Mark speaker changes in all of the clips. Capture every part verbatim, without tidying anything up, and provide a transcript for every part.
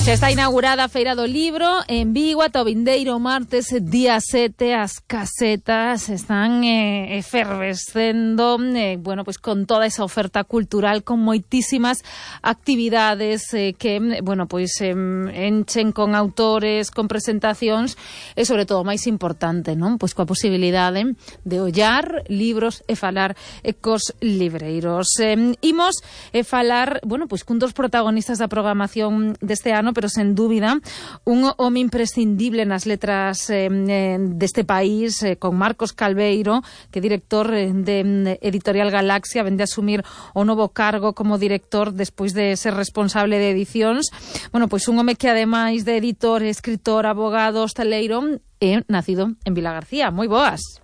Speaker 1: Xa está inaugurada a Feira do Libro en Vigo ata o vindeiro martes, día sete. As casetas están eh, efervescendo, eh, bueno, pues con toda esa oferta cultural, con moitísimas actividades eh, que, bueno, pues eh, enchen con autores, con presentacións e, sobre todo, máis importante, non? Pois coa posibilidade de ollar libros e falar eh, cos libreiros. Eh, imos eh, falar, bueno, pois cun dos protagonistas da programación deste ano, pero sen dúbida un home imprescindible nas letras eh, deste país, eh, con Marcos Calveiro, que é director eh, de Editorial Galaxia, vende a asumir o novo cargo como director despois de ser responsable de edicións. Bueno, pois un home que ademais de editor, escritor, abogado, hostaleiro, é nacido en Vilagarcía. Moi boas.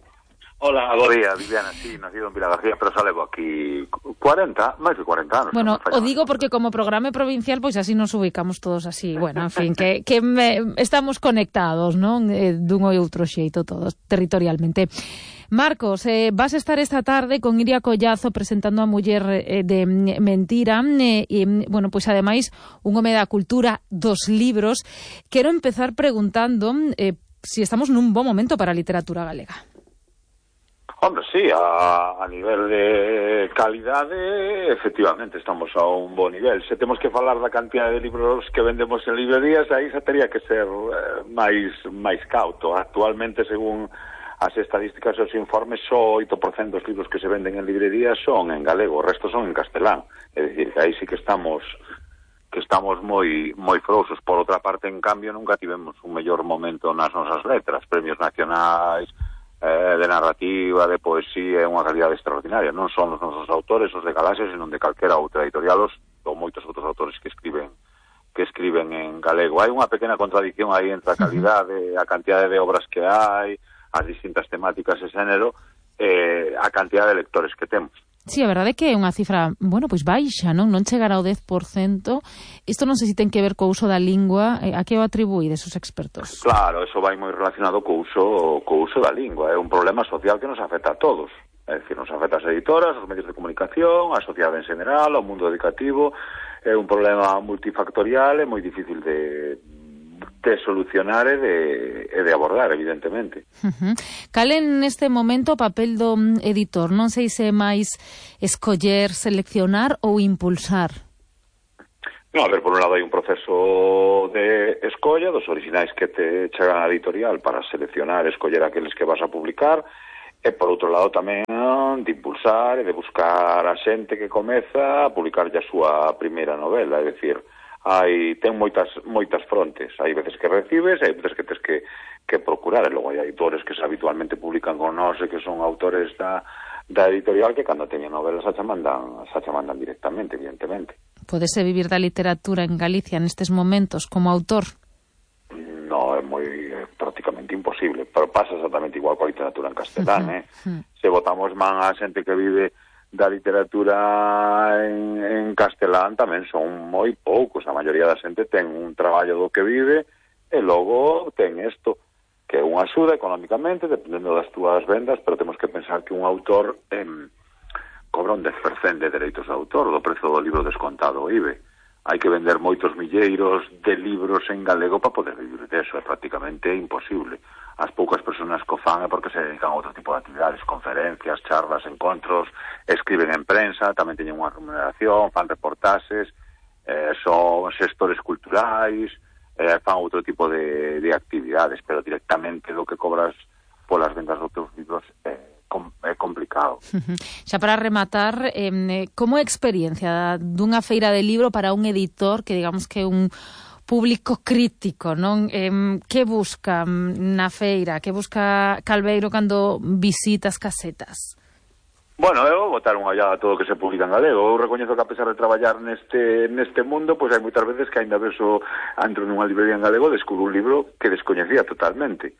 Speaker 2: Hola, bo día, Viviana, sí, nacido en Vilagarcía, pero xa levo aquí cuarenta, máis de cuarenta anos.
Speaker 1: Bueno, o digo porque como programa provincial, pois así nos ubicamos todos así, bueno, en fin, que, que me, estamos conectados, non? Eh, dun ou outro xeito todos, territorialmente. Marcos, eh, vas a estar esta tarde con Iria Collazo presentando a Muller eh, de Mentira, eh, e, bueno, pois ademais, un home da cultura dos libros. Quero empezar preguntando eh, si estamos nun bo momento para a literatura galega.
Speaker 2: Hombre, sí, a, a nivel de calidade, efectivamente, estamos a un bo nivel. Se temos que falar da cantidad de libros que vendemos en librerías, aí xa teria que ser eh, máis máis cauto. Actualmente, según as estadísticas e os informes, só oito por cento dos libros que se venden en librerías son en galego, o resto son en castelán. É dicir, que aí sí que estamos que estamos moi moi frouxos. Por outra parte, en cambio, nunca tivemos un mellor momento nas nosas letras, premios nacionais, Eh, de narrativa, de poesía, é unha calidade extraordinaria. Non son os nosos autores, os de Galaxia, senón de calquera outra editorial, os, ou moitos outros autores que escriben que escriben en galego. Hai unha pequena contradicción aí entre a calidade, a cantidade de obras que hai, as distintas temáticas e xénero, eh, a cantidade de lectores que temos.
Speaker 1: Sí, a verdade é que é unha cifra, bueno, pois baixa, non? Non chegar ao dez por cento. Isto non sei se ten que ver co uso da lingua. A que o atribuídes os expertos?
Speaker 2: Claro, eso vai moi relacionado co uso, co uso da lingua. É un problema social que nos afecta a todos. É dicir, nos afecta as editoras, os medios de comunicación, a sociedade en general, ao mundo educativo. É un problema multifactorial, é moi difícil de... de solucionar e de, e de abordar, evidentemente.
Speaker 1: Uh-huh. Cal é neste momento o papel do editor? Non sei se é máis escoller, seleccionar ou impulsar?
Speaker 2: No, a ver, por un lado hai un proceso de escolla dos orixinais que te chegan á editorial para seleccionar, escoller aqueles que vas a publicar, e por outro lado tamén de impulsar e de buscar a xente que comeza a publicar ya a súa primeira novela, é dicir, hai ten moitas moitas frontes, hai veces que recibes, hai veces que tens que, que procurar, e logo hai autores que se habitualmente publican con nós e que son autores da, da editorial que cando teñen novelas xa mandan, xa mandan directamente, evidentemente.
Speaker 1: Podese vivir da literatura en Galicia nestes momentos como autor?
Speaker 2: No, é moi é prácticamente imposible, pero pasa exactamente igual coa literatura en castelán, uh-huh. eh? Uh-huh. Se botamos man a xente que vive da literatura en, en castelán tamén son moi poucos. A maioría da xente ten un traballo do que vive e logo ten isto, que é unha axuda económicamente, dependendo das túas vendas, pero temos que pensar que un autor eh, cobra un dez por cento de dereitos de autor do prezo do libro descontado o I B E. Hai que vender moitos milleiros de libros en galego para poder vivir deso, é prácticamente imposible. As poucas persoas que o fan é porque se dedican a outro tipo de actividades, conferencias, charlas, encontros, escriben en prensa, tamén teñen unha remuneración, fan reportaxes, eh, son xestores culturais, eh, fan outro tipo de, de actividades, pero directamente do que cobras polas vendas dos teus libros é eh, é complicado.
Speaker 1: Xa para rematar, eh, como é a experiencia dunha feira de libro para un editor que digamos que é un público crítico, non? Eh, que busca na feira? Que busca Calveiro cando visita as casetas?
Speaker 2: Bueno, eu vou botar unha ollada a todo o que se publica en galego. Eu recoñezo que a pesar de traballar neste neste mundo, pois hai moitas veces que ainda veso entro nunha librería en galego, descubro un libro que descoñecía totalmente.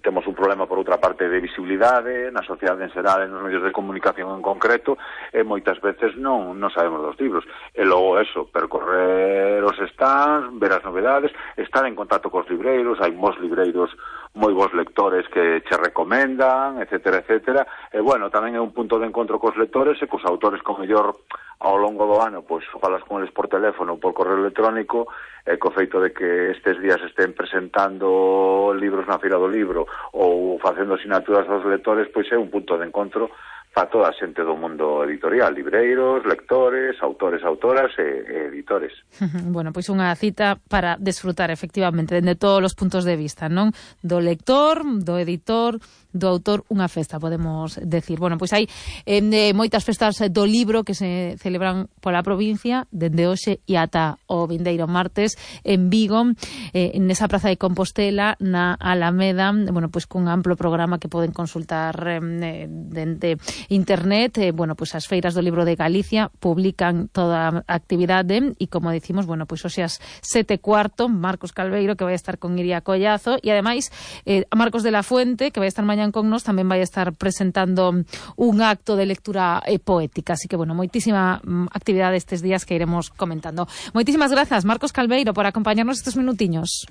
Speaker 2: Temos un problema, por outra parte, de visibilidade na sociedade en xeral, nos medios de comunicación en concreto, e moitas veces non, non sabemos dos libros. E logo eso, percorrer ver os stands, ver as novedades, estar en contacto cos libreiros, hai mos libreiros moi bons lectores que che recomendan, etcétera, etcétera. E, bueno, tamén é un punto de encontro cos lectores e cos autores con mellor ao longo do ano, pois, falas con eles por teléfono ou por correo electrónico, e co feito de que estes días estén presentando libros na Feira do Libro ou facendo asinaturas aos lectores, pois é un punto de encontro para toda a xente do mundo editorial, libreiros, lectores, autores, autoras e, e editores.
Speaker 1: Bueno, pois unha cita para desfrutar efectivamente de todos os puntos de vista, non? Do lector, do editor, do autor, unha festa, podemos decir. Bueno, pois hai eh, moitas festas do libro que se celebran pola provincia dende hoxe e ata o vindeiro martes en Vigo, eh, nesa praza de Compostela, na Alameda, bueno, pois cun amplo programa que poden consultar eh, dende internet. Eh, bueno, pois as feiras do libro de Galicia publican toda a actividade e, como decimos, bueno, pois hoxe as sete cuarto, Marcos Calveiro, que vai estar con Iria Collazo, e ademais eh, Marcos de la Fuente, que vai estar mañán con nos, tamén vai estar presentando un acto de lectura eh, poética. Así que, bueno, moitísima mm, actividade estes días que iremos comentando. Moitísimas grazas, Marcos Calveiro, por acompañarnos estes minutiños.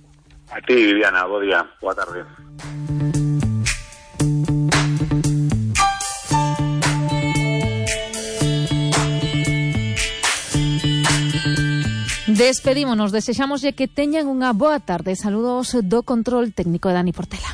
Speaker 2: A ti, Viviana, bo día, boa tarde.
Speaker 1: Despedímonos, desexámoslle que teñan unha boa tarde. Saludos do control técnico de Dani Portela.